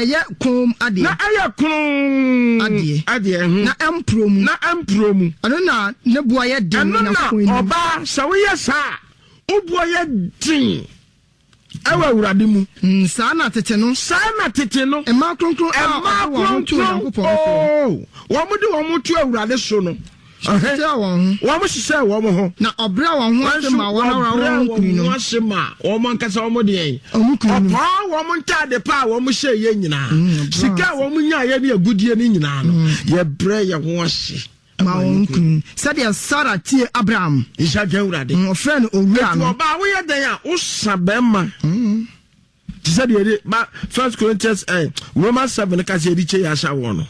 ɛyɛ komm adeɛ. Na ɛyɛ kronn adeɛ. Adeɛ, mhm. Na ɛmporɔ mu. Na ɛmporɔ mu. Ɛno na ne boɔ yɛ den Ɛno na Onyankopɔn anim. ɔbaa, sɛ woyɛ saa a, wo boɔ yɛ den ɛwɔ Awurade mu. Mm, saa na tete no. Saa na tete no. Mmaa kronkron a Mmaa wɔde wɔn ho to kronkron, Onyankopɔn soɔ. oo, wɔn de wɔn to Awurade so no. Hyehyɛɛ wɔn ho. Wɔn hyehyɛɛ wɔn ho. Na ɔbrɛɛ wɔn ho ase maa wɔn ara wɔn kununom. Wɔbrɛɛ wɔn ho ase maa wɔn ankasa wɔn deɛn. Wɔn kununom. Ɔpaa wɔn ntaade pa a wɔn hyɛ yɛ nyinaa. Mm, Sika a wɔn nyaayɛ ne agudie no nyinaa no. Mm. Yɛbrɛ yɛn ho ase. Ma wɔn kunu. Sɛdeɛ Sara tie Abraham. Nhyɛ dwa Awurade. Mm, ɔfrɛ no owura no. Etu ɔbaa woyɛ dɛn a wosa bɛrima. Te sɛ deɛ yɛde ba First Corinthians eh, Romans 7 ka sɛ yɛde kyɛ yɛ ahyɛ wɔn no.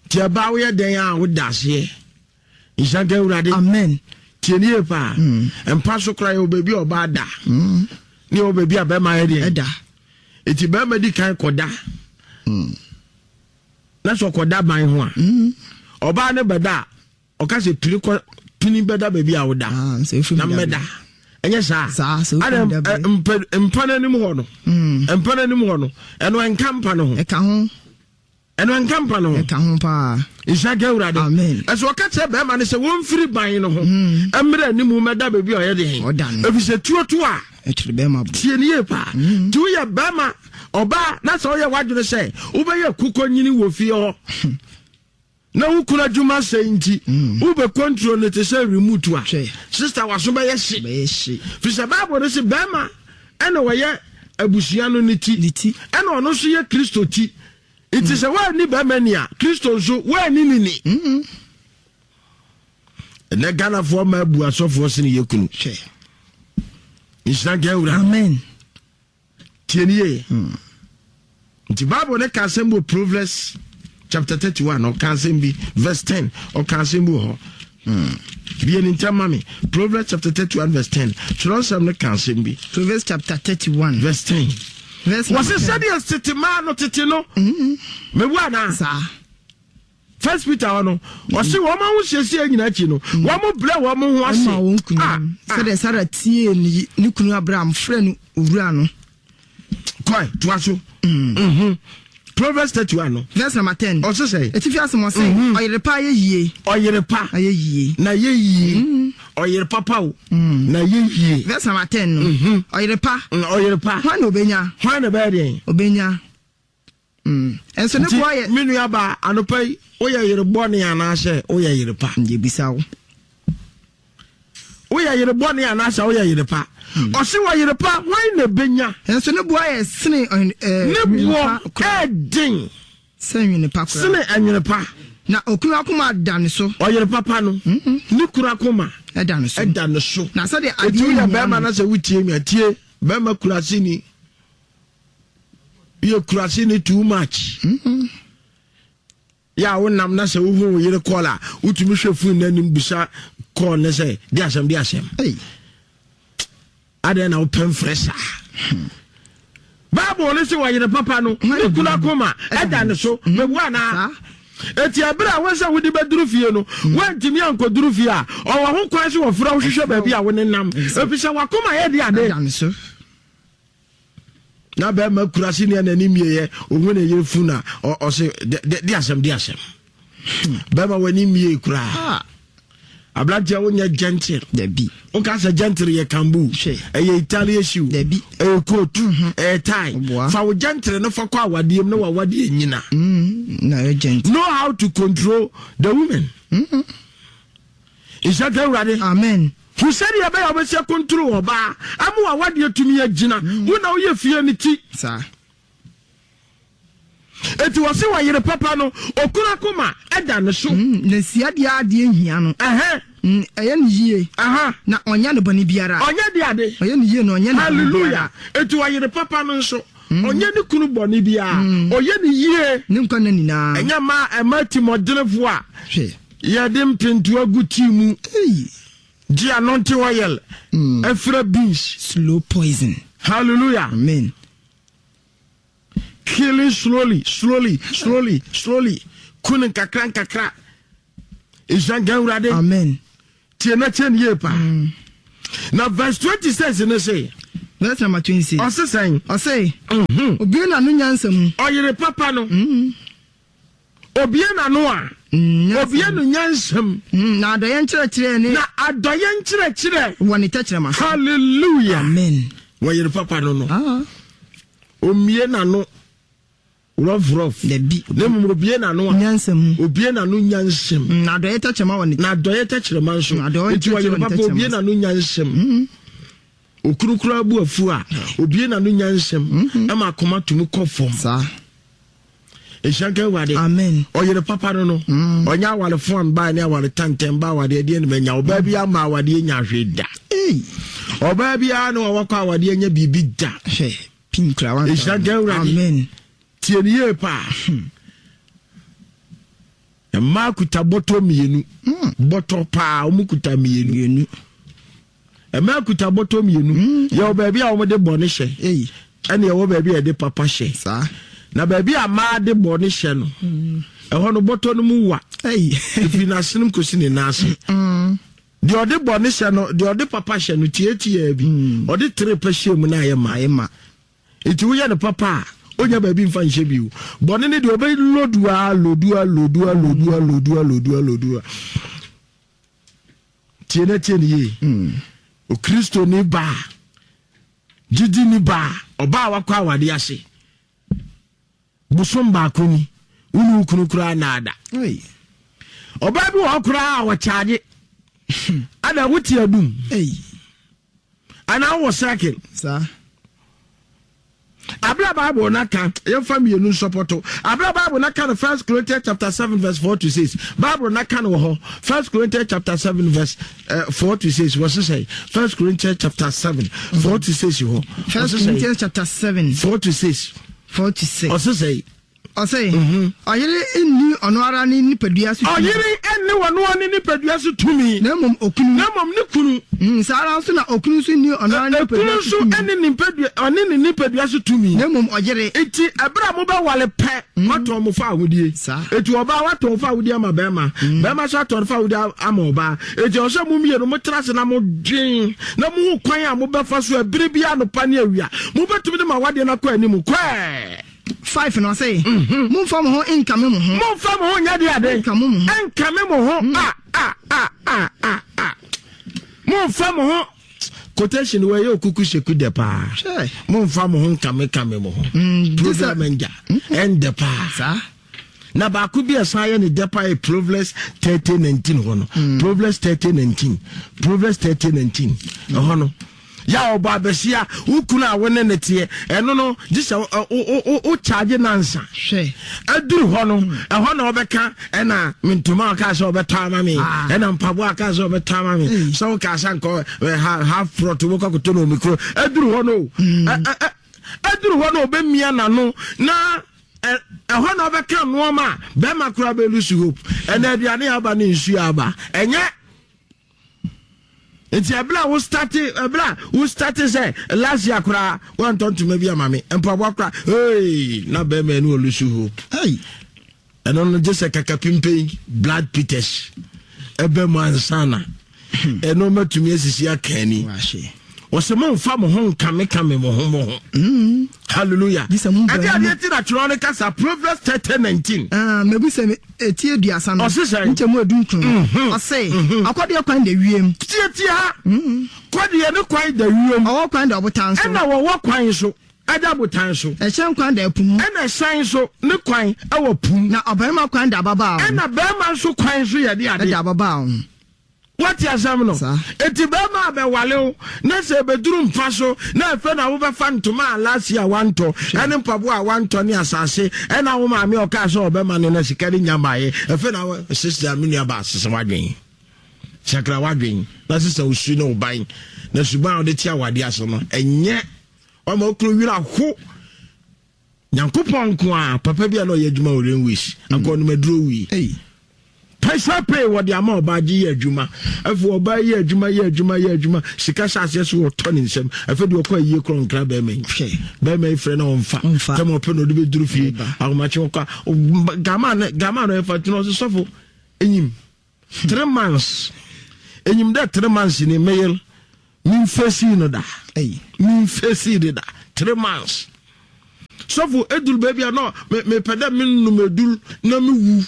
Nti ɛbaa woyɛ dɛn a woda aseɛ. Nhyira nka Awurade. Amen. Tie ne yie paa. Mm. Mpa so koraa yɛwɔ baabi a ɔbaa da. Mm. Ne yɛwɔ baabi a bɛrima yɛ deɛ. Ɛda. Nti bɛrima di kan kɔda. Mm. Na sɛ ɔkɔda ban ho a. Ɔbaa no bɛda a Ɔka sɛ pini kɔ pini bɛda baabi a woda ah, na mmɛda ɛnyɛ saa ada mpa no anim hɔ no hmm. mpa no anim hɔ no ɛno ɛnka mpa no ho ɛka ho ɛno ɛnka mpa no ho ɛka ho paa nhyira ka awurade ɛsɛ ɔka kyerɛ bɛrima no sɛ wɔmfiri ban no ho hmm. mmerɛ anim mɛda baabi a ɔyɛ deɛ ɛfiri sɛ tuo to a tie ne yie paa hmm. nti woyɛ bɛrima ɔbaa na sɛ woyɛ w'adwene sɛ wobɛyɛ kukɔ nyini wɔ fie hɔ na wo kunu adwuma sɛe nti mm. wobɛ control no te sɛ remote a sister waso bɛyɛ hye firi sɛ bible no se bɛrima ɛna wɔyɛ abusua no ne ti ɛna ɔno nso yɛ kristo ti nti mm. sɛ woanni bɛrima ni a kristo nso woanni ne ni mm-hmm. ɛnɛ ghanafoɔ ma abu asɔfoɔ sene yɛ kunu nhyira nka awura amen Tie nie. Hmm. Nti Bible ne ka asɛm bi wɔ Proverbs chapter 31 ɔka asɛm bi verse 10 ɔka asɛm bi wɔ hɔ. Hmm. Bie ne ntɛm ma me. Proverbs chapter 31 verse 10. Twerɛnsɛm no ka asɛm bi. Proverbs chapter 31 verse 10. Wɔse sɛdeɛ tete maa no tete no. Mm-hmm. Mebu anaa? Saa. First Peter hɔ no, ɔse wɔn ahosiesie nyinaa akyi no, mm. wɔn brɛ wɔn ho ase. Ɛma wɔn kunu ah, ah. sɛdeɛ Sara tie ne kunu Abraham frɛ no owura no. Kɔe toa so. Mm. Mhm. Proverbs 31 no. Verse number 10. Ɔse sɛ. Etifi asɛm ɔse mhm. ɔyere pa ayɛ yie. Ɔyere pa. Ayɛ yie. Na yɛ yie. Mm. Ɔyere papa o. Na yɛ yie. Verse number 10 no. Mhm. Ɔyere pa. Ɔyere pa. Hwan na obenya? Hwan na ɛbɛyɛ deɛn? Obenya. Mm. Nso ne boɔ yɛ. Me nua baa anɔpa yi woyɛ yere bɔne anaasɛ woyɛ yere pa? Yɛbisa wo. Woyɛ yere bɔne anaasɛ woyɛ yere pa? Hmm. Ɔse wɔ yere pa hwan na ebenya? Nso ne boɔ yɛ sene eh, ne boɔ ɛɛden. Sɛ nwene pa koraa. Sene nwene pa. Na okunu akoma da ne so. Ɔyere papa no mm-hmm. ne kunu akoma ɛda ne so. Ɛda ne so. Na sɛdeɛ adeɛ nyinaa. Eti woyɛ bɛrima na sɛ wotie mi a tie bɛrima kurase ni. Yɛ kurase ni too much. Mm-hmm. Yɛ a wonam na sɛ wohu wo yere kɔɔl a wotumi hwɛ fon no anim bisa kɔɔl no sɛ de asɛm de asɛm. Adɛn na wopɛ mfrɛ saa? Hmm. Bible no sɛ wɔyere papa no ne kunu akoma ɛda ne so hmm. mebu anaa? Eti ɛberɛ a wɔn sɛ wode bɛduru fie no hmm. woantumi ankɔduru fie a ɔwɔ ho kwan sɛ wɔfrɛ wo hwehwɛ baabi a wo ne nam ɛfiri sɛ wakoma yɛ de ade. Na bɛrima kura se nea n'ani mmieɛ ohun ne yere fun na ɔse de asɛm de asɛm bɛrima w'ani mmie koraa ah. aberanteɛ wonyɛ gentle dabi woka sɛ gentle yɛ kambu ɛyɛ italian shoe dabi ɛyɛ coat mhm. ɛyɛ tie fa wo gentle no fa kɔ awadeɛ mu na wawadeɛ nyina mm, na ɛyɛ gentle know how to control the women mm -hmm. Nhyira nka Awurade. Amen. Hu sɛdeɛ ɛbɛyɛ a wobɛsi akontoro ɔbaa ama w'awadeɛ atumi agyina. Mm. Wo na woyɛ fie no ti. Saa. Eti wɔse wɔ yere papa no, okunu akoma ɛda ne so. Mm, na si adeɛ adeɛ nhia no. Ɛhɛn. Mm, ɛyɛ no yie. Aha. Na ɔnyɛ no bɔne biara. Ɔnyɛ de ade. Ɔyɛ no yie na ɔnyɛ no bɔne biara. Hallelujah. Eti wɔ yere papa no nso, mm. ɔnyɛ ne kunu bɔne biara. Mm. Ɔyɛ no yie. Ne nkwa nna nyinaa. Ɛnyɛ ma ɛma timɔdenefoɔ a. Hwɛ. Yɛde mpentoa gu tea mu. Gye anointing oil. Ɛfira beans. Slow poison. Hallelujah. Amen. Killing slowly, slowly, slowly, slowly. Kunu nkakra nkakra. Nhyira nka Awurade. Amen. Tie na kyɛn yie paa. Mm. Na verse 26 ne se. Verse number 26. Ɔse sɛn? Ɔse, Obue n'ano nyansa mu. Ɔyere papa no, obue n'ano a, obue no nyansa mu. Na adɔeɛ nkyerɛkyerɛ ne. Na adɔeɛ nkyerɛkyerɛ. Wɔ ne tɛkyerɛma so. Hallelujah. Amen. Wɔyere papa no no. Ah. Omue n'ano rough rough. Dabi. Na mmom obue n'ano a. Nyansa mu. Obue n'ano nyansa mu. Na adɔeɛ tɛkyerɛma wɔ ne. Na adɔeɛ tɛkyerɛma nso. Nti wɔyere papa obue n'ano nyansa mu. Okunu koraa bu afu a, obue n'ano nyansam ma akoma tumi kɔ fam. Saa. Nhyira nka Awurade. Amen. Ɔyere papa no no, ɔnyɛ awarefo a mbaa ne aware tantɛn ba awadeɛ deɛ ne manya. Ɔbaa bi ama awadeɛ nya hwee da. Ɔbaa biara ne wɔwɔ awadeɛ nya biribi da. Hwɛ, pin kura wa. Nhyira nka Awurade. Amen. Tie ne yie paa. Mmaa kuta bɔtɔ mmienu. Bɔtɔ paa, wɔn kuta mmienu. Mmaa kuta bɔtɔ mmienu. Mm. Yɛwɔ baabi a wɔde bɔne hyɛ. Ɛne ɛwɔ baabi a yɛde papa hyɛ. Saa. Na baabi a mmaa de bɔne hyɛ no, ɛhɔ no bɔtɔ no mu wa. Ɛfiri n'asenem kɔsi ne nan ase. Mm. Deɛ ɔde bɔne hyɛ no, deɛ ɔde papa hyɛ no tiatiaa bi. Mm. Ɔde tere pɛ hyɛ mu na ayɛ ma. Ayɛ ma. Nti woyɛ no papa a, onya baabi mfa nhyɛ bio. Bɔne no deɛ ɔbɛ lodu a, lodu a, lodu a, lodu a, lodu a, lodu a, lodu a. Tie na tie no yie. Mm. Okristoni baa, gyidini baa, ɔbaa wakɔ awade ase. Bosom baako ni, wo ne wo kunu koraa naada. Ɔbaa bi wɔ hɔ koraa a wɔkyaagye. Ada wote adum. Anaa wowɔ circle. Saa. Abere a Bible no aka, yɛmfa mmienu nsɔpɔto. Abere a Bible no aka no First Corinthians chapter 7 verse 4 to 6. Bible no aka no wɔ hɔ. First Corinthians chapter 7 verse 4 to 6. Wɔ sesɛ First Corinthians chapter 7 4 to 6 hɔ. First Corinthians chapter 7 4 to 6. 4 to 6. Ɔsesɛ Ɔse, Ɔyere nni ɔno ara ne nipadua so tumi. Ɔyere nni ɔno ara ne nipadua so tumi. Na mmom okunu. Na mmom ne kunu. Saa ara nso na okunu nso nni ɔno ara ne nipadua so tumi. Okunu nso nni ne nipadua, ɔne ne nipadua so tumi. Na mmom ɔyere. Enti ɛberɛ a mobɛwale pɛ, moatɔn mo fawohodie. Saa. Enti ɔbaa watɔn fawohodie ama barima, barima nso atɔn fawohodie ama ɔbaa. Enti ɛwɔ sɛ mo mmienu motra ase na modwen na mohu kwan a mobɛfa so ɛberɛ biara anɔpa ne awia. Mobɛtumi de mo awadeɛ no akɔ anim. Kɔɛ! 5 na ɔse, Momfa mo ho nkame mo ho. Momfa mo ho nyɛ de ade. Nkame mo ho. Nkame mo ho. A a a a a a. Momfa mo ho. Quotation wɔ ɛyɛ okuku seku dɛ paa. Momfa mo ho nkame kame mo ho. Program ngya ɛndɛ paa. Saa. Na baako bi a ɛsan yɛ ne dɛ paa yɛ Proverbs 30:19 hɔ no. Proverbs 30:19. Proverbs 30:19 ɛhɔ no. Yɛ a ɔbɔ abɛsia wo kunu a wo ne ne teɛ ɛno no gye sɛ wo charge nansa aduru hɔ no ɛhɔ na ɔbɛka ɛna ntoma a ɔkaa sɛ ɔbɛtɔ ama me ah. ɛna mpaboa a ɔkaa sɛ ɔbɛtɔ ama me sɛ wokaa sɛ nkɔ half plot wobɛkɔ akɔtɔ no omikuro aduru hɔ no hmm. aduru hɔ no ɔbɛmia n'ano na ɛhɔ na ɔbɛka nnoɔma a bɛrima koraa bɛlusu hope ɛna aduane aba ne nsuo aba ɛnyɛ nti ɛberɛ a wo starte ɛberɛ a wo starte sɛ last year koraa woantɔ ntoma bi ama me mpaboa koraa hey na bɛrima ɛne ɔlusu hope hey ɛno no gye sɛ kakapimpɛn blood peters ɛbɛ mu ansa na ɛno mɛtumi asisi aka ani wɔsɛ momfa mo ho nkamekame mo ho mo ho mm. Hallelujah. Ɛde adeɛ ti na twerɛ no kasa Proverbs 30 19. Ah, mebu sɛ eti aduasa no. Ɔse sɛ. Nkyɛ mu edu nkron. Mhm. Ɔse. Mhm. Akɔdeɛ kwan da wiem. Tietie ha. Mhm. Kɔdeɛ ne kwan da wiem. Ɔwɔ kwan da ɔbotan so. Ɛna wɔwɔ kwan so. Ɛda botan so. Ɛhyɛn kwan da ɛpo mu. Ɛna ɛhyɛn so ne kwan ɛwɔ pum. Na ɔbarima kwan da ababaa ho. Ɛna barima nso kwan so yɛ de ade. Ɛda ababaa ho. Woate asɛm no? Enti bɛrima a bɛwale wo na sɛ ɛbɛduru mpa so na afei na wobɛfa ntoma a last year wantɔ ɛne mpaboa a wantɔ ne asase ɛna wo maame a ɔkaa sɛ ɔbɛma no na sika no nya mmaeɛ afei na wo sister me nua baa sesa w'adwen sakra w'adwen na sesa wo su ne wo ban na suban a wode te awadeɛ ase no ɛnyɛ ɔma okunu werɛ aho. Nyankopɔn nko a papa bi a na ɔyɛ adwuma wɔ railways mm. anka ɔnom aduro wui pɛsɛ pay wɔde ama ɔbaa gye yɛ adwuma afei ɔbaa yɛ adwuma yɛ adwuma yɛ adwuma sika hyɛ aseɛ so wɔtɔ ne nsam afei deɛ ɔkɔ ayie korɔ nkra bɛrima yi bɛrima yi frɛ na ɔmfa tɛm ɔpɛ na ɔde bɛduru fie ahomakye ɔkɔ gama no gama no ɛfa tena ɔsɛ sɔfo enyim 3 months enyim dɛ 3 months ni meyel. Memfesii no da. Memfesii no da. 3 months. Sɔfo, eduru baabi a na mepɛ dɛ menom edur na mewu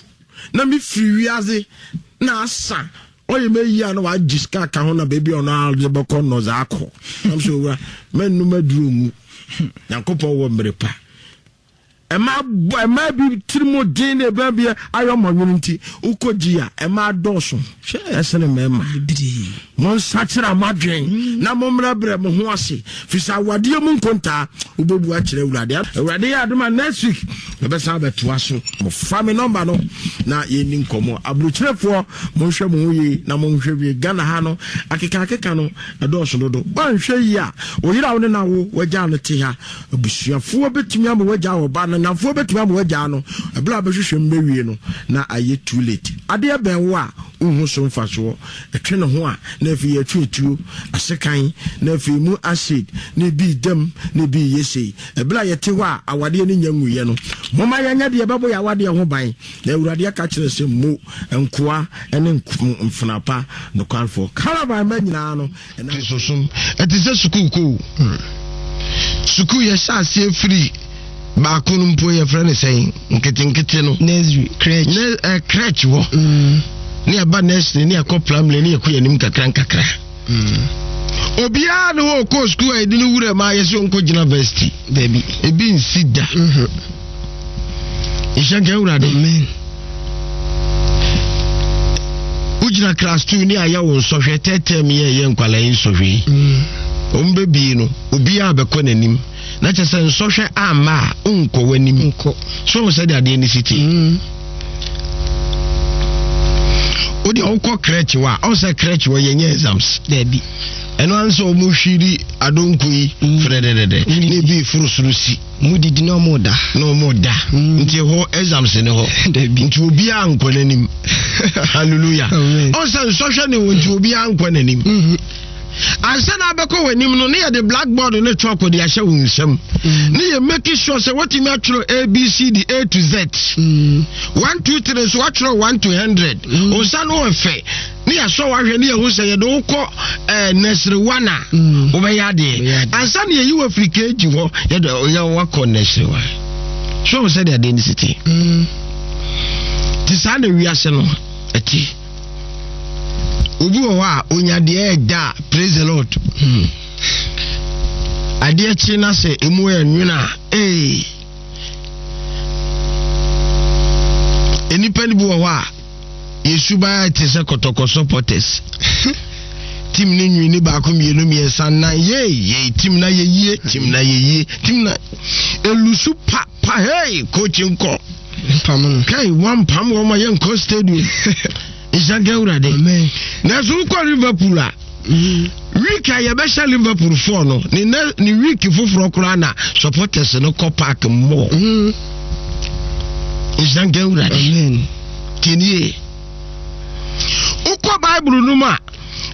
na mefiri wiase na asa. Ɔyɛ me yie a na wagye sika aka ho na baabi a ɔno ara de bɛkɔ no ɔdze akɔ. Nam sɛ owura, mɛnnom aduru nwu. Nyankopɔn wɔ mmere pa. Ɛma ɛmaa bi tiri mu den na ɛbɛn bi ayɛ ɔmɔ nwene nti wokɔ gyi a ɛmaa dɔɔso ɛsene mmarima. Monsakyera mo adwen na mommrɛbrɛ mo ho ase, firi sɛ awadeɛ mu nkontaa wobɛbu akyerɛ Awurade. Awurade yɛ adom a next week yɛbɛsan abɛtoa so. Fa me nɔmba no na yɛnni nkɔmmɔ. Aburokyerefoɔ monhwɛ mo ho yie na monhwɛ wie. Ghana ha no akeka akeka no ɛdɔɔso dodo. Woanhwɛ yie a wo yere a wo ne no awo wagyaa no te ha. Abusuafoɔ bɛtumi ama wagyaa wɔ ba no, nnamfoɔ bɛtumi ama wagyaa no. Ɛberɛ a bɛhwehwɛ mu bɛwie no na ayɛ too late. Adeɛ bɛn wo a wonhu so mfasoɔ. Ɛtwe ne ho a na afei yɛtwe atuo, asekan, na afei mu acid, na ebi reda mu, na ebi reyɛ sei. Ɛberɛ a yɛte hɔ a awadeɛ no nnya nwuiɛ no, momma yɛnyɛ deɛ ɛbɛbɔ yɛn awadeɛ ho ban. Na Awurade aka kyerɛ sɛ, Mo, nkoa ne mfenaa pa nokwarefoɔ, caravan mma nyinaa no, ɛnam. Kristosom, ɛte sɛ sukuu kɔ o. Sukuu yɛhyɛ aseɛ firi baako no mpo yɛfrɛ no sɛn nketenkete no. Nursery, crèche. Ne eh, crèche wɔ. Ne yɛba nursery ne yɛkɔ primary ne yɛkɔ yɛn anim kakra nkakra. Obiara ne hɔ ɔkɔɔ sukuu a yɛde no wura mu a yɛsɛ ɔnkɔ gyina varsity. Dabi. Ebi nsi da. Nhyɛ nka Awurade. Amen. Wogyina class 2 ne ayɛ wo nsɔhwɛ tɛtɛm yɛ yɛ nkwalaa yi nsɔhwɛ yi. Wɔn bɛbie no obiara bɛkɔ n'anim na kyɛ sɛ nsɔhwɛ amma a wonkɔ w'anim. Nkɔ. So wɔn sɛdeɛ adeɛ no si te. Wode wokɔ crèche hɔ a ɔn sɛ crèche hɔ yɛnyɛ exams. Dabi. Ɛno ara sɛ wɔn hwiri adonko yi frɛdɛdɛdɛ ne ebi foro soro si. Ɔmo didi na ɔmo da. Na ɔmo da. Nti ɛhɔ exams ne hɔ. Dabi. Nti obiara nkɔ n'anim. Hallelujah. Amen. Ɔn sɛ nsɔhwɛ ne wɔ nti obiara nkɔ n'anim. Ansa na abɛkɔ w'anim no ne yɛde blackboard ne chalk de ahyɛ wo nsam. Ne yɛ make sure sɛ watumi atwerɛ A B C D A to Z. 1 2 3 nso watwerɛ 1 to 100. Wo nsa no wɔ fɛ. Ne yɛasɔ wahwɛ ne yɛhu sɛ yɛde wo kɔ eh, nursery one a wobɛyɛ adeɛ. Ansa na yɛyi wo afiri KG hɔ yɛde yɛ wakɔ nursery one. So wo sɛdeɛ adeɛ no si te. Nti saa na wiase no ɛte. Obi wɔ hɔ a onya deɛ ɛda a praise the Lord. Adeɛ kye na sɛ emu yɛ nwene a ee. Nnipa no bi wɔ hɔ a yɛsuban te sɛ kɔtɔkɔ supporters. Team no nwini baako mmienu mmiɛnsa nnan yei yei team na yɛyie team na yɛyie team na elusu pa pa hey coach nkɔ. Mpam no. Kai wampam wɔn ma yɛnkɔ stadium. Nhyɛ nka Awurade. Amen. Nanso wokɔ Liverpool a week a yɛbɛhyɛ Liverpool foɔ no ne ne ne week foforɔ koraa na supporters no kɔ park mmɔ. Nhyɛ nka Awurade. Amen. Tinie. Wokɔ Bible no mu a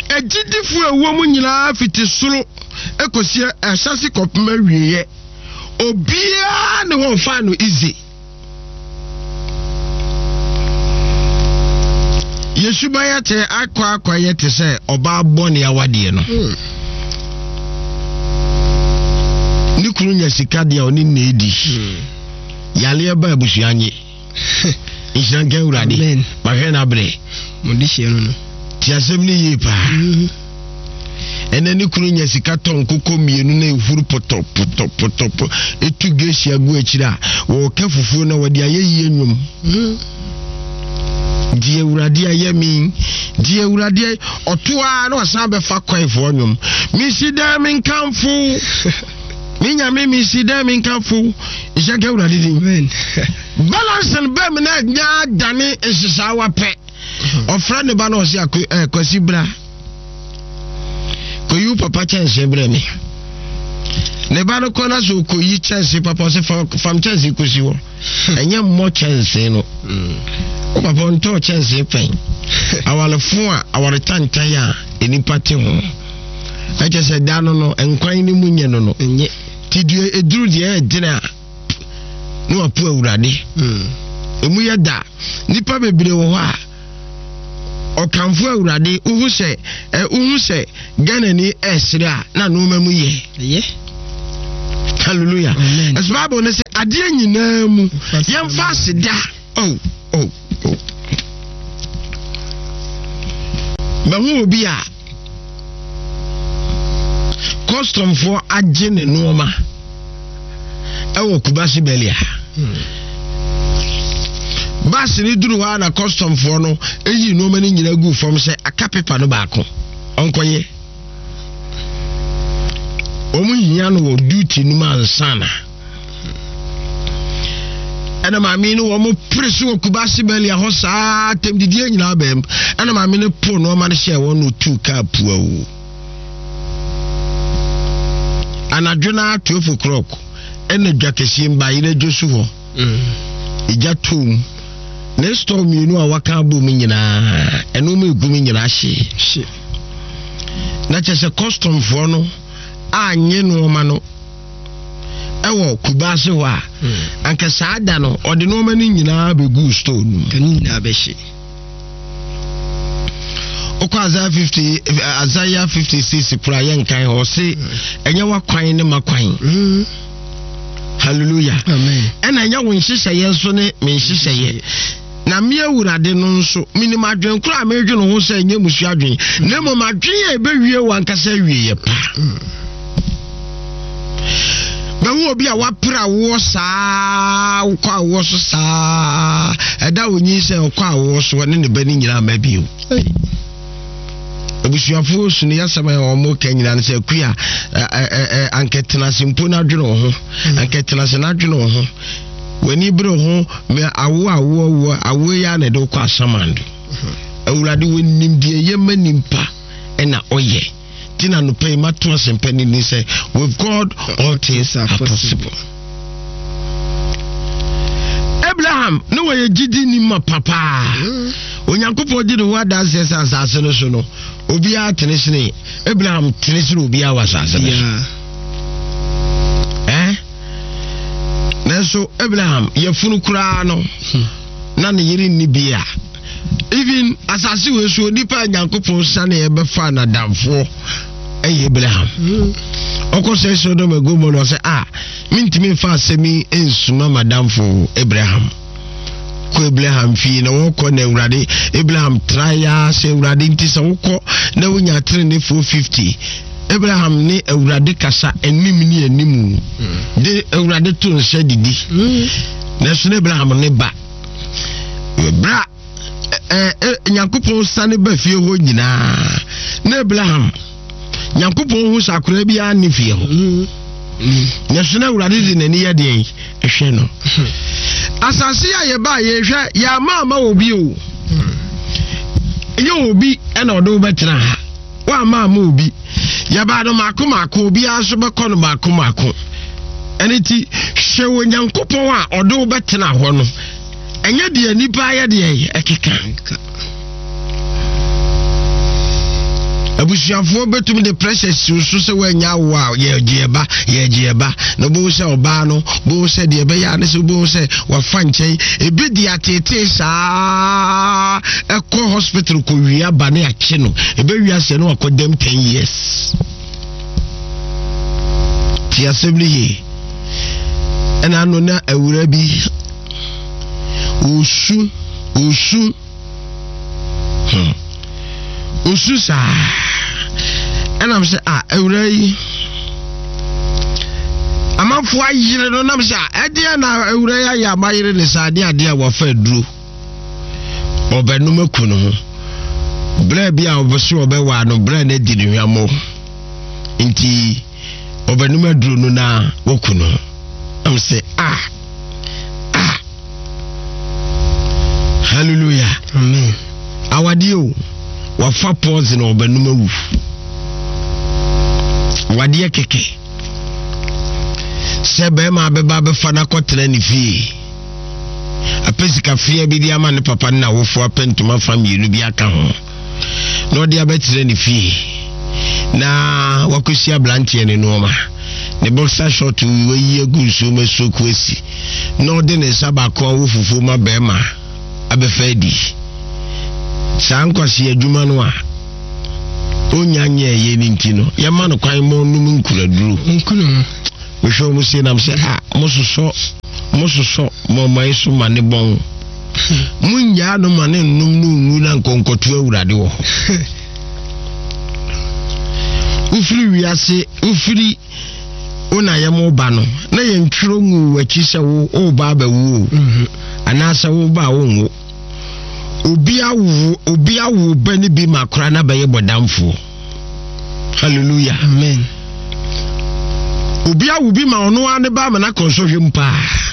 agyidifo a ɛwɔ mu nyinaa fiti soro ekosi ahyɛse kɔpem awieɛ. Obiara ne wɔn fa no easy. Yɛn suban akyɛ akɔ akɔyɛ te sɛ ɔbaa bɔne awadeɛ no. Ne kunu nya sika deɛ ɔne nna edi. Yaleɛ ba abusua nye. Nhyira nka Awurade. Amen. Mahwɛ n'abrɛ. Mo de hyɛ no no. Te asɛm no yie paa. Ɛnɛ ne kunu nya sika tɔ nkokɔ mmienu na ehuru pɔtɔ pɔtɔ pɔtɔ pɔ etu gehyia gu akyiri a wɔreka fufuo na wɔde ayɛ yie nnwom. Deɛ Awurade ayɛ me, deɛ Awurade ayɛ ɔto ara na wasan bɛfa kwaefoɔ nnwom. Mesi dɛn menkamfo me nyame mesi dɛn menkamfo nhyɛ nka Awurade din. Amen. Balancing bɛm na nya adane nhyehyɛawa pɛ. Ɔfrɛ ne ba na ɔse ako eh, Kwasi bra. Kɔyi wo papa kyɛnse brɛ me. Ne ba no kɔ na sɛ ɔkɔyi kyɛnse papa ɔse fam kyɛnse kɔsi hɔ. Ɛnyɛ mmɔ kyɛnse no. Wo papa ɔntɔɔ kyɛnse pɛn. Awarefo a aware tantan a nnipa te ho. Ɛkyɛ sɛ da no no nkwan no mu nyɛ no no. Nyɛ. Ti deɛ ɛduru deɛ ɛdene a na wapo Awurade. Emu yɛ da. Nnipa bebree wɔ hɔ a. Ɔkamfo Awurade, wohu sɛ ɛ wohu sɛ Ghanani ɛresere a na nneɛma mu yɛ. Ɛyɛ. Hallelujah. Amen. Ɛsɛ Bible no sɛ adeɛ nyinaa mu yɛmfa aseda. Oh, oh, oh. Mahu obi a kɔstɔmfoɔ agye ne nneɛma ɛwɔ Kumasi Bɛlia. Hmm. Baasi no duru hɔ a na kɔstɔmfoɔ no eyi nneɛma no nyinaa gu fam sɛ aka pepa no baako ɔnkɔyɛ. Wɔn hia no wɔ duty no mu ansana. Ɛna maame no wɔn pere so wɔ Kumasi Bɛlia hɔ saa tɛm didie nyinaa bɛm. Ɛna maame no po nneɛma no hyɛ wɔn no tu kaa puawu. Anadwo no ara 12 o'clock ɛna dwa kɛseɛ mu bayerɛ dwo so hɔ. Egya too mu. Ne store mmienu a waka abɔ mu nyinaa ɛnneɛma egu mu nyinaa hye. Hye. Na kyerɛ sɛ customfoɔ no anyɛ nneɛma no ɛwɔ Kumasi hɔ a hmm. anka saa da no ɔde nneɛma no nyinaa bɛguu store no mu. Ne nyinaa bɛhye. Wokɔ Isaiah 50 eh, Isaiah 56 kora yɛnkan hɔ ɔse hmm. ɛnyɛ w'akwan ne m'akwan. Hmm. Hallelujah. Amen. Ɛna ɛnyɛ wo nhyehyɛeɛ nso ne me nhyehyɛeɛ. Na me Awurade no nso, menim adwene koro a meredwene ho sɛ ɛnyɛ mmusua adwene, na mmom adwene a ɛbɛwie w'ankasa awieeɛ pa. Bɛhu obi a wapere awoɔ saa, wokɔ awoɔ so saa, ɛda onyin sɛ ɔkɔ awoɔ so ne ne ba no nyinaa ma bio. Abusuafoɔ su no yɛasɛm a wɔn ka nyinaa no sɛ akua ankɛtenase mpo no adwene wo ho, ankɛtenase no adwene wo ho. W'ani bere ho mɛ awo awo awo awo yi ara na ɛde wokɔ asamando. Awurade wɔnim deɛ ɛyɛ ma nipa ɛna ɔyɛ. Ti na nopɛ yi mato asɛmpa ni ni sɛ with God all things are possible. Abraham ne wɔyɛ gyidi ni ma papaa. Onyankopɔn di ne ho adanseɛ sɛ asase no so no obiara tene sene Abraham tene sene obiara wɔ asase no so. Eh? Nanso Abraham yafunu koraa no hmm. na ne yere nni bi a even asase wei so onipa a Nyankopɔn sane ɛbɛfa n'adamfoɔ ɛyɛ Abraham. Hmm. Ɔkɔ sɛ Sodom and Gomorrah ɔsɛ a ah, mentumi mfa asɛm yi nsuma madamfo Abraham. Kɔ Abraham fie na wɔkɔ na Awurade Abraham tra ya sɛ Awurade nti sɛ wokɔ na wonya tenenefoɔ 50 Abraham ne Awurade kasa anim ne anim de Awurade to nsa didi. Nanso na Abraham ne ba. Bra Nyankopɔn sane ba fie hɔ nyinaa na Abraham Nyankopɔn hu sɛ akwadaa biara ne fie hɔ. Nanso na Awurade de n'ani yɛ deɛn ɛhwɛ no. Asase a yɛbaa yɛhwɛ yɛama ama obi o. Ɛnyɛ obi ɛna ɔde wo bɛtena ha. Woamma amma obi. Yɛbaa no mmaako mmaako, obiara nso bɛkɔ no mmaako mmaako. Ɛno nti, hwɛ Onyankopɔn a ɔde wo bɛtena hɔ no. Ɛnyɛ deɛ nnipa ayɛ deɛ ɛkeka. Abusuafoɔ bɛtumi de pressure si wo so sɛ woanya awo a yɛgye ɛba yɛgye ɛba na wobɛhu sɛ ɔbaa no wobɛhu sɛ deɛ ɛbɛyɛ a ne sɛ wobɛhu sɛ wafa nkyɛn ebi de ateetee saa ɛkɔ hospital kɔ wia ba ne akye no ɛbɛwia sɛ no wakɔ dɛm 10 years te asɛm no yie ɛna ano na awura bi ɔsu ɔsu hmm. ɔsu saa ɛnam sɛ a awura yi amanfoɔ ayere no nam sɛ ɛdeɛ na awura yi ayɛ ama yere ne saa adeɛ adeɛ a wafa aduro ɔbɛnom aku ne ho berɛ bi a ɔbɛso ɔbɛwaa no berɛ no adi ne hwammɔ nti ɔbɛnom aduro no na waku no am sɛ ah ah hallelujah amen awadeɛ o wafa pɔs na ɔbɛnom awu awadeɛ kɛkɛ sɛ bɛrima abɛba abɛfa no akɔtena ne fie apɛ sika fia bi de ama ne papa ne n'awofoɔ apɛ ntoma fa mmienu bi aka ho na ɔde abɛkyerɛ ne fie na wakɔsi aberanteɛ ne nneɛma ne boxer short wayi agu nsuo mu asuoku asi na ɔde ne nsa baako awo fufuo ma bɛrima abɛfa adi. Saa nkwasi adwuma no a ɔnya nyɛɛyɛ no nti no, yɛma no kwan ma ɔnom nkuraduro. Mehwɛ wɔn sie nam sɛ a ah, mososɔ mososɔ mo ɔman so ma ne bɔn. Monnyaa no ma ne nnom no nwu na nkɔnkɔto awurade wɔ hɔ. Wofiri wiase wofiri wo na yɛ mo ba no na yɛntwerɛ ngu w'akyi sɛ wo woba abɛwo o mhm. anaasɛ wo ba a wonwo obi awo obi awo ba no bi ma koraa na bɛyɛ bɔdamfoɔ hallelujah amen obi awo bi ma ɔno ara ne ba ama no akɔ nsɔhwɛ mu paa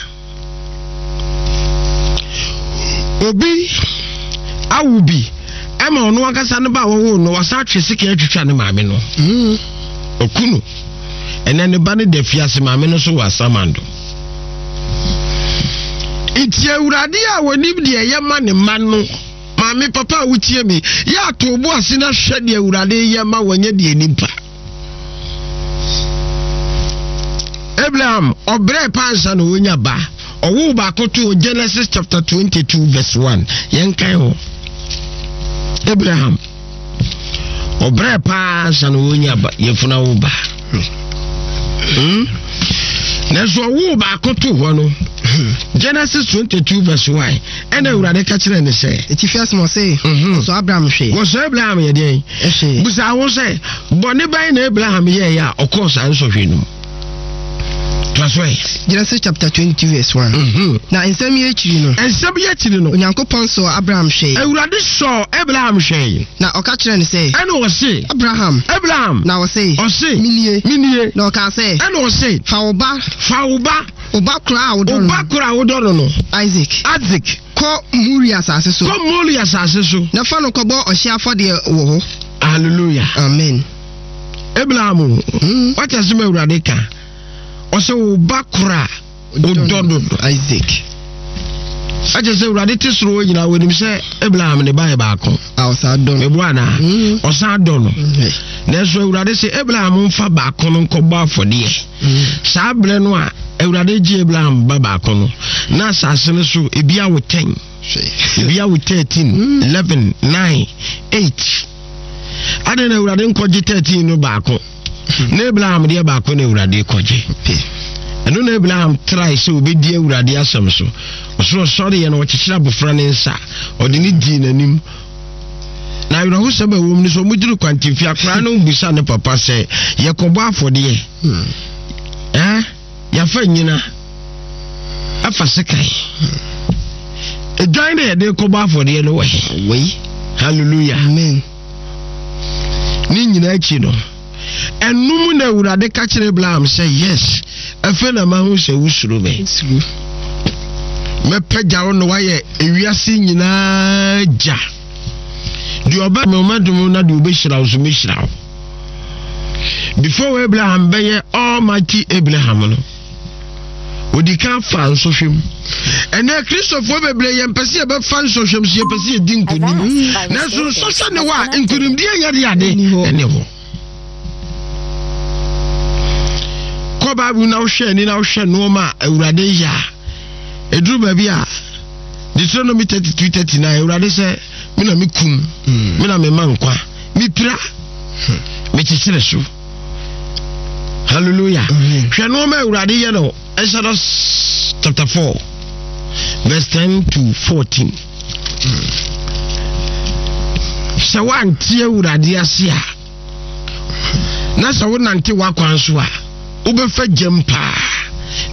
Obi awo bi ɛma ɔno ankasa no ba a wɔwoo no wasan atwe sika atwitwa ne maame no. Mm. Ɔku no. Ɛnɛ ne ba no da fiase maame no so wɔ asamando. Nti awurade a wɔnim deɛ ɛyɛ ma ne mma no maame papa a wotie me yɛ ato bo ase na hwɛ deɛ awurade yɛ ma wɔnyɛ deɛ nipa. Abraham ɔbrɛ paa nsa na ɔnya ba ɔwoo baako to Genesis chapter 22 verse 1 yɛnkan hɔ Abraham ɔbrɛ paa nsa na ɔnya ba yɛfuna wo ba hmm? nanso ɔwoo baako to hɔ no Genesis 22 verse 1 ɛna awurade ka kyerɛ ne sɛ ɛtifi asɛm ɔse mhm. wɔsɔ Abraham hwee wɔsɔ Abraham yɛ deɛn busa ho sɛ bɔne bɛn na Abraham yɛeɛ a ɔkɔɔ saa nsɔhwɛ no mu toa so ɛ Genesis chapter 22 verse 1 mhm. na nsɛm yi akyiri no nsɛm yi akyiri no Onyankopɔn sɔɔ Abraham hwɛe Awurade sɔɔ Abraham hwɛe na ɔka kyerɛɛ no sɛ ɛna ɔse Abraham Abraham na ɔse ɔse menie menie na ɔkaa sɛ ɛna ɔse fa wo ba fa wo ba Wo ba koro a wodɔ no. Wo ba koro a wodɔ no no. Isaac. Isaac. Kɔ Moria asase so. Kɔ Moria asase so. Na fa no kɔbɔ ɔhyeɛ afɔdeɛ wɔ hɔ. Hallelujah. Amen. Abraham, hmm. wate asɛm Awurade ka. Ɔsɛ wo ba koro a wodɔ no no. Isaac. Ɛkyɛ sɛ Awurade te soro hɔ nyinaa wɔnim sɛ Abraham ne ba yɛ baako. A ɔsan dɔ no. Meboa anaa? Hmm. Ɔsan dɔ no. Hmm. Nanso Awurade sɛ Abraham mfa baako no nkɔbɔ afɔdeɛ. Saa berɛ no a Awurade gye Abraham ba baako no, na asase no so ebi awo 10, ebi awo 13, 11, 9, 8. Adɛn na Awurade nkɔgye 13 no baako? Na Abraham deɛ baako na Awurade kɔgye. Ɛno na Abraham trae sɛ obɛdi Awurade asɛm so. Ɔsoro ɔsɔreɛ no ɔkyekyere abɔfra ne nsa, ɔde ne dii n'anim. Na awerɛhosɛm a ɛwɔ mu ne sɛ wɔduru kwantemfi akwaraa no bisa ne papa sɛ yɛkɔbɔ afɔdeɛ hmm. eh? yɛafa nyina afa sekan ɛdwan na yɛde kɔbɔ afɔdeɛ no wɔ he hallelujah amen ne nyinaa akyi no Ɛno mu na Awurade ka kyerɛ Abraham sɛ, Yes, afei na mahu sɛ wosuro me. Mɛpagya wo na woayɛ ewiase nyinaa gya. Deɛ ɔbɛ me ɔmɛdom na deɛ ɔbɛhyira wo nso mɛhyira wo. Before Abraham bɛyɛ Almighty Abraham no, Ɔdi kan faa nsɔhwɛ mu. Ɛnɛ Kristofoɔ bebree yɛmpɛ sɛ yɛbɛfa nsɔhwɛ mu so yɛpɛ sɛ yɛdi nkonim. Nanso nsɔhwɛ ne hɔ a nkonimdie nyɛ de ade ɛne hɔ. Kɔ Bible na wohwɛ ani na wohwɛ nneɛma a Awurade yɛ a ɛduru baabi a Deuteronomy 32 39 Awurade sɛ me na mekum hmm. me na mema nkwa mepira hmm. mekyekyere so Hallelujah. Hwɛ nneɛma Awurade yɛ no Exodus chapter 4 verse 10 to 14. Sɛ woante Awurade ase a na sɛ wonante w'akwan so a wobɛfa gyam paa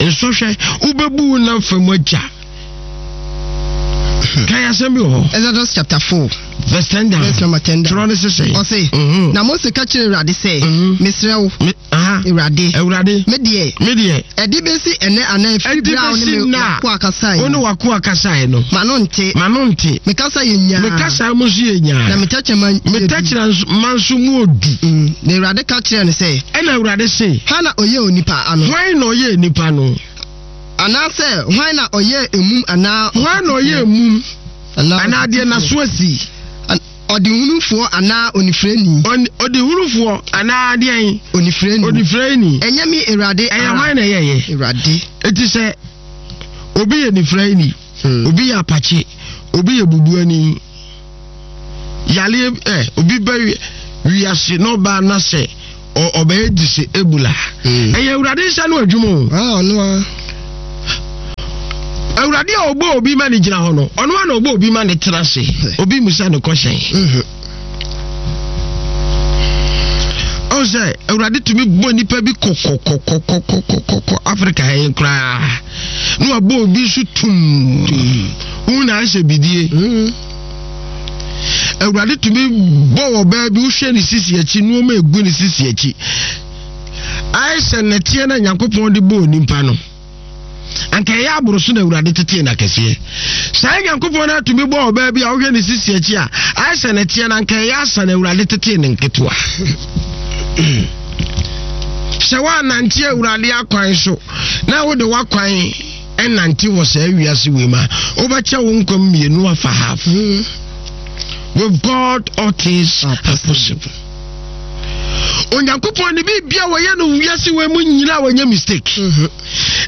nsɔhwɛ wobɛbu wo nam fam agya Kan asɛm bi wɔ hɔ. Exodus chapter 4. Verse 10 down. Verse number 10 down. Twerɛ ne sesɛ. Ɔse, mhm. na Mose ka kyerɛ Awurade sɛ, mhm. mesrɛ wo, Awurade. Awurade. Me deɛ. Me deɛ. Ɛde bɛsi ɛnɛ anaa ɛfiri berɛ a wo ne me wakoa kasaeɛ. Wo ne wakoa kasaeɛ no. Ma no nte. Ma no nte. Me kasa yɛ nyaa. Me kasa mu nso yɛ nyaa. Na me tɛkyerɛma yɛ du. Me tɛkyerɛma nso mu odu. Mm. Na Awurade ka kyerɛɛ no sɛ. Ɛna Awurade se. Hwan na ɔyɛɛ onipa ano? Hwan na ɔyɛɛ nipa no? Anaasɛ hwan na ɔyɛɛ emum anaa Hwan na ɔyɛɛ mum anaa deɛ n'aso asi? Ɔdehunufoɔ anaa onifirani? Ɔdehunufoɔ anaa deɛn? Onifirani. Onifirani. Ɛnyɛ me Awurade ara. Ɛyɛ hwan na ɛyɛeɛ? Awurade. Eti sɛ obi yɛ nifirani, hmm. obi yɛ apakye, obi yɛ bubuani. Yareɛ ɛ obi bɛ wiase na ɔbaa na sɛ ɔbɛyɛ disable a hmm. ɛyɛ awurade nsa no adwuma o. Ah, ɔno a. Awurade a ɔbɔ obi ma ne gyina hɔ no ɔno a na ɔbɔ obi ma ne tena ase obi musa ne kɔhyɛn. Mhm. Ɔn sɛ awurade tumi bɔ nipa bi kɔkɔkɔkɔkɔkɔkɔ Afrika ha yi koraa na wabɔ obi nso tum wo na ahyɛ bidie. Mm. Awurade tumi bɔ wɔ baa bi wohwɛ ne sisi akyi nneɛma egu ne sisi akyi ayɛ sɛ nɛteɛ na Nyankopɔn de bɔɔ nipa no anka ɛyɛ aboro so na Awurade tetee no akɛseɛ saa Nyankopɔn no atumi bɔ ɔbaa bi a wohwɛ ne sisi akyi a ayɛ sɛ nɛteɛ no anka ɛyɛ asa na Awurade tetee no nketewa sɛ woanante Awurade akwan so na wode w'akwan ɛnante wɔ saa wiase wei mu a wobɛkyɛ wo nkwa mmienu afa half hmm. with God all things are possible onyankopɔn ne biribia wɔyɛ no wiase wei mu nyina wɔnyɛ mistake mhm.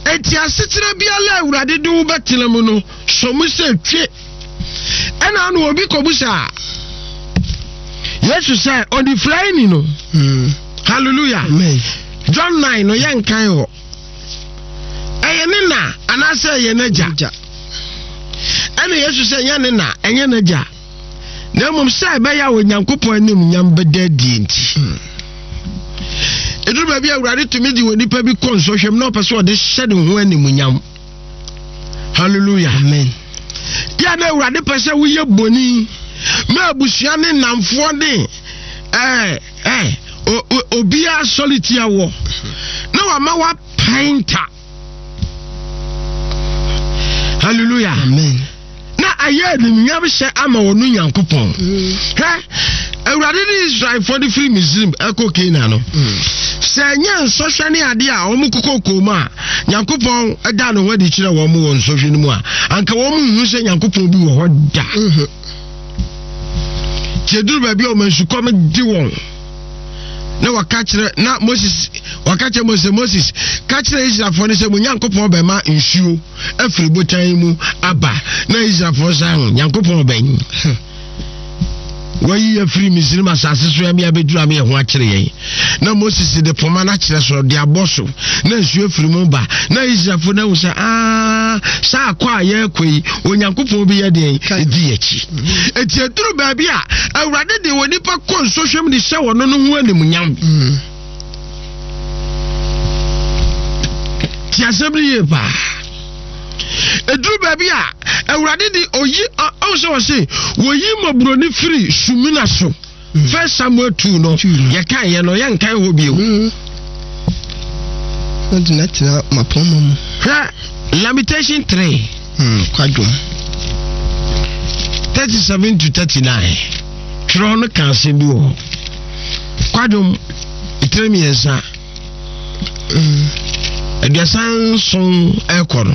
enti asetena biara awurade de wo bɛtena mu no sɔ mu sɛ twe ɛna ano obi kɔbu saa yesu sɛ ɔnifuraeni no hmm. hallelujah Amen. John 9 no yɛnkan hɔ ɛyɛ ne na anaasɛ ɛyɛ n'agya ɛna yesu sɛ ɛnyɛ ne na ɛnyɛ n'agya na mmom sɛ ɛbɛyɛ a onyankopɔn anim nyam bɛda adie nti hmm. ɛduru baabi a awurade tumi de wɔ nipa bi kɔ nsɔhwɛm na ɔpɛ sɛ ɔde hyɛ ne ho animuonyam hallelujah amen yɛ na awurade pɛ sɛ woyɛ boni ma abusua ne nnamfoɔ ne ɛɛ eh, obiara sɔre tia wɔ na wama wapae nta hallelujah amen na ayɛ animuonyam hyɛ ama wɔn nyankopɔn mm. hwɛ awurade ne israelfoɔ de firi misrim ɛkɔ canaan no mm. sɛ ɛnyɛ nsɔhwɛ ne adeɛ a wɔn kokɔ kɔn mu a nyankopɔn da ne ho adi kyerɛ wɔn wɔ nsɔhwɛ no mu a anka wɔn nhu sɛ nyankopɔn bi wɔ hɔ da mm-hmm. Nti eduru baabi a wɔn nsukɔm de wɔn na wɔka kyerɛ na Moses wɔka kyerɛ Moses Moses ka kyerɛ Israelfoɔ no sɛ mo Nyankopɔn bɛma nsuo afiri botan mu aba na Israelfoɔ san ho Nyankopɔn bɛn wayi afiri Misrim asase so ɛmi abɛduru ame ɛho akyerɛ yɛn na Moses de poma no akyerɛ so de abɔ so na nsuo afiri mu ba na Israelfoɔ no ahu sɛ aa saa akɔ a yɛrekɔ yi Onyankopɔn bi yɛ deɛn ɛdi akyi enti ɛduru baabi a Awurade de wɔ nipa kɔ nsɔhwɛm de hyɛ wɔn no ho animuonyam mm. ti asɛm no yie paa ɛduru baabi a Awurade de oyi ɔn sɛ wɔse wɔyi mmɔborɔni firi sumina so mm. First Samuel 2 no yɛkan yɛ no yɛnkan hɔ bio mm. Ɔde no atena mapɔmma mu. Hwɛ Lamentation 3. Hmm, kwadwom. 37 to 39. Twerɛ no ka asɛm bi wɔ hɔ. Kwadwom, etire mmiɛnsa. 37 ɛkɔ no.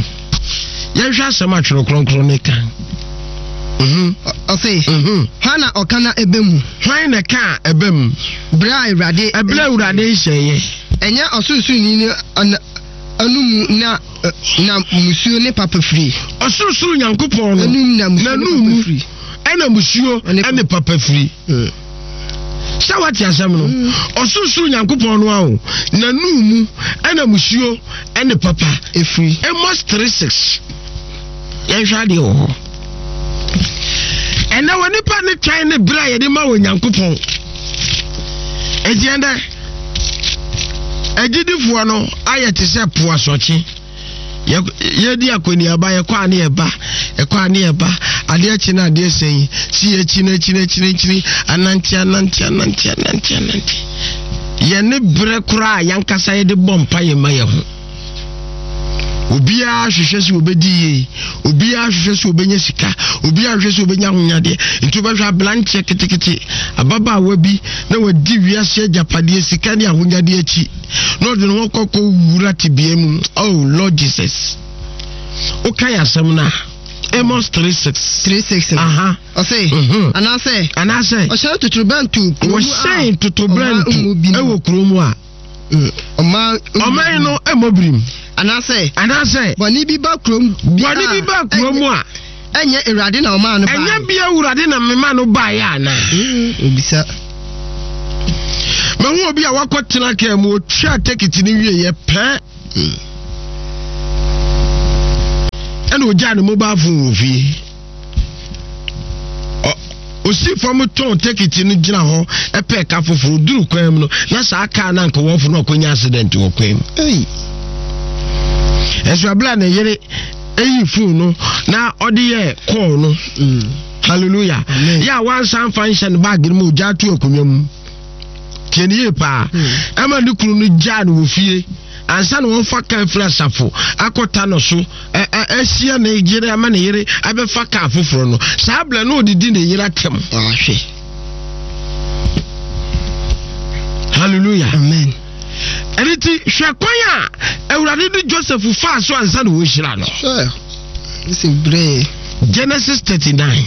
Yɛnhwɛ asɛm a twerɛ kronkron no ka. Mhm. Ɔse, mhm. hwan na ɔka na ɛbɛ mu? Hwan na ɛka a ɛbɛ mu? Berɛ a Awurade. Ɛberɛ a Awurade nhyɛeɛ. Ɛnyɛ ɔsorosoroni no anomu na na musuo ne papa firi. Ɔsorosoro Nyankopɔn no n'anum mu ɛna musuo ne papa firi. Hmm. Sɛ wate asɛm no, hmm. ɔsorosoro Nyankopɔn no aho n'anum mu ɛna musuo ne papa efiri. Amos 3:6 yɛnhwɛ adeɛ wɔ hɔ. Ɛnɛ wɔ nipa ne twɛn ne berɛ a yɛde ma wɔ Nyankopɔn. Enti ɛnɛ agyidifoɔ no ayɛ te sɛ po asɔkye. Yɛdi akɔneaba, yɛkɔ a ne yɛba, yɛkɔ a ne yɛba, adeɛ kye na adeɛ sɛn, si yɛkyi na akyi na akyi na akyiri, anante anante anante anante anante. Yɛne berɛ koraa a yɛankasa yɛde bɔ mpa yɛ ma yɛ ho. Obiara hwehwɛ sɛ obɛdi yie, obiara hwehwɛ sɛ obɛnya sika, obiara hwehwɛ sɛ obɛnya ahonyadeɛ. Nti wobɛhwɛ aberanteɛ ketekete, ababaawa bi na wadi wiase agyapadeɛ, sika ne ahonyadeɛ akyi na ɔde ne ho kɔkɔ wura tebea mu. Oh Lord Jesus. Wokae asɛm no a, Amos 3:6. 3:6. Aha. Ɔse, mhm. anaasɛ. Anaasɛ. Ɔhyɛn totorobɛnto kurom a. Wɔhyɛn totorobɛnto ɛwɔ kurom a. Ɔman ɔman no mmɔ birim. Anaasɛ. Anaasɛ. Bɔne bi ba kurom. Bɔne bi ba kurom a. Ɛnyɛ Awurade na ɔmaa no baeɛ? Ɛnyɛ bia Awurade na mema no baeɛ anaa? Obisa. Mahu obi a wakɔtena kaa mu, ɔtwaa tekiti no wieɛ pɛ. Ɛna ɔgyaa ne mobile phone wɔ fie. Ɔsi fam tɔn tekiti no gyina hɔ ɛpɛ ka foforɔ duru kwan mu no na saa kaa no anka wɔfo no akɔnya accident wɔ kwan mu. Ɛso abere a ne yere eyi phone no na ɔde yɛ call no. Mm. Hallelujah. Yɛ a wansan fa nhyɛ ne baage no mu ogya ato akonnwa mu. Tie ne yie paa. Mm. Ɛma ne kunu no gyaa no wɔ fie ansa na wɔfa kaa firi asafo akɔta no so ahyia ne yere ama ne yere abɛfa kaa foforɔ no saa berɛ no ɔdedi ne yere atɛm. Ahwɛ. Hallelujah. Amen. Ɛno nti hwɛ kwan a Awurade de Joseph faa so ansa na wɔhyira no. Joseph brɛ. Genesis 39.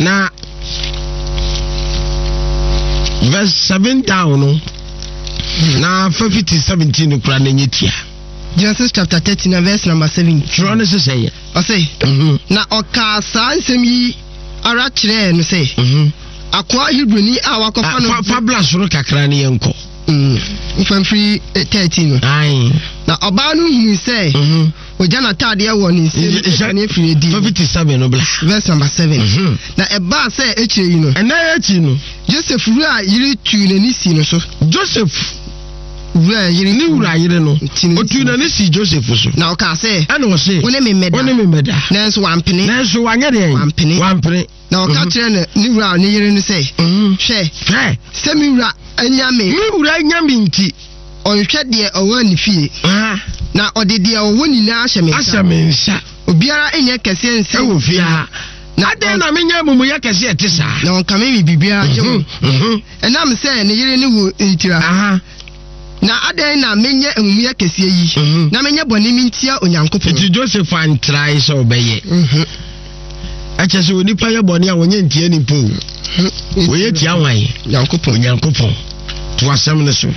Na verse 7 down no na fa fiti 17 no kura na nyɛ tia. Genesis chapter 39 verse number 7. Twerɛ no sesɛ yɛ. Ɔse, na ɔkaa saa nsɛm yi ara kyerɛɛ no sɛ, mhm. akoa Hebrini a wakɔfa no. Fa bla soro kakra ne yɛnkɔ. Nfa mfiri 13 no. Na ɔbaa no hunuu sɛ mhm. ogya n'ataadeɛ wɔ ne nsam ne afiri adi. Fa fiti 7 no bla. Verse number 7. Mhm. Na ɛbaa sɛ akyire yi no. Ɛnna akyi no. Joseph wura yere tuu n'ani sii no so. Joseph wura yere ne wura yere no otuu n'ani sii Joseph so. Na ɔkaa sɛ. Ɛna ɔse. Wo ne me mmɛda. Wo ne me mmɛda. Nanso wampene. Nanso wanyɛ deɛn? Wampene. Wampene. Na ɔka mhm. kyerɛ ne ne wura ne yere no sɛ. Mhm. Hwɛ. Hwɛ. Sɛ me wura anya me. Me wura anya me nti. Ɔnhwɛ deɛ ɔwɔ ne fie. Na ɔde deɛ ɔwɔ nyinaa ahyɛ me nsa. Ahyɛ me nsa. Obiara nyɛ kɛseɛ nsen. Ɛwɔ fie ha. Na adɛn na menyɛ amumuyɛ kɛseɛ ɛte saa? Na ɔnkame me biribiara gye wo. Mhm, Ɛnam sɛ ne yere ne wo ntira. Na adɛn na menyɛ amumuyɛ kɛseɛ yi, mhm. na menyɛ bɔne mentia Onyankopɔn? Nti Joseph antrae sɛ ɔbɛyɛ. Mhm. Ɛkyɛ sɛ onipa yɛ bɔne a wɔnyɛ ntia nipa o. Wɔyɛ tia hwan? Onyankopɔn. Onyankopɔn. To asɛm no so.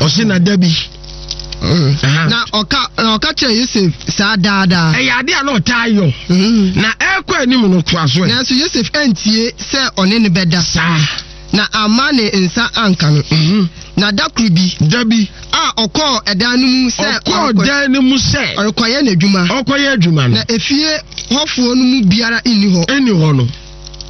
Ɔse na da bi. Na ɔka na ɔka kyerɛ Yosef saa daadaa. Ɛyɛ ade a na ɔtaa yɔ. Na ɛrekɔ anim no toa so ɛ. Nanso Yosef antie sɛ ɔne no bɛda. Saa. Na amma ne nsa anka no. Na da koro bi. Da bi. A ɔkɔɔ ɛdan no mu sɛ. Ɔkɔɔ dan no mu sɛ. Ɔrekɔyɛ n'adwuma. Ɔrekɔyɛ adwuma no. Na efie hɔfoɔ no mu biara nni hɔ. Nni hɔ no.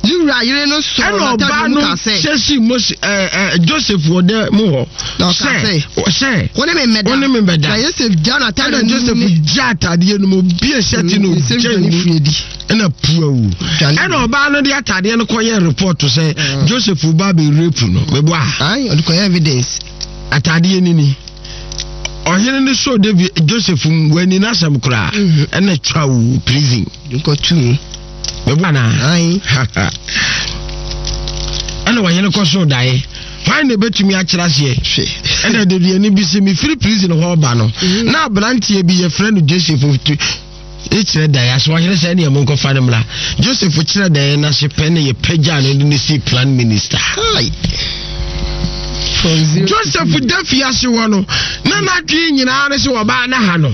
Ne wura yere no sɔɔ n'atadeɛ mu kaa sɛ. Ɛna ɔbaa no hyɛ sii Mose ɛɛ ɛɛ Joseph wɔ dɛ mu hɔ. Na ɔkaa sɛ. Sɛ. Wo ne me mmɛda. Wo ne me mmɛda. Na Yosef gyaa n'atadeɛ no mu. Ɛna Joseph gyaa atadeɛ no mu obie hyɛte no ogya mu. Ɛna puawu. Ɛna ɔbaa no de atadeɛ no kɔyɛ report sɛ mm. Joseph ba bɛ rape no. Meboa. Ayi ɔde kɔyɛ evidence. Atadeɛ ni ni. Ɔhene no sɔ David Joseph mu wani n'asɛm koraa. Mhm. Ɛna twa wo prison. Nkɔtu mu. Meboa na. Ɛna ɔhene kɔ so daeɛ. Hwan na ebetumi akyerɛ aseɛ? Ɛna deduani bi sɛ mefiri prison hɔ ba no mhm. na aberanteɛ bi yɛfrɛ no Joseph kyerɛ daeɛ ase ɔhene sɛ ɛneɛ monkɔfa no mmra Joseph kyerɛ daeɛ no ase pɛ ne yɛpagyaa no de no sii plan minister. Joseph da fiase hɔ no na n'adwene nyinaa ne sɛ wɔbaa no ha no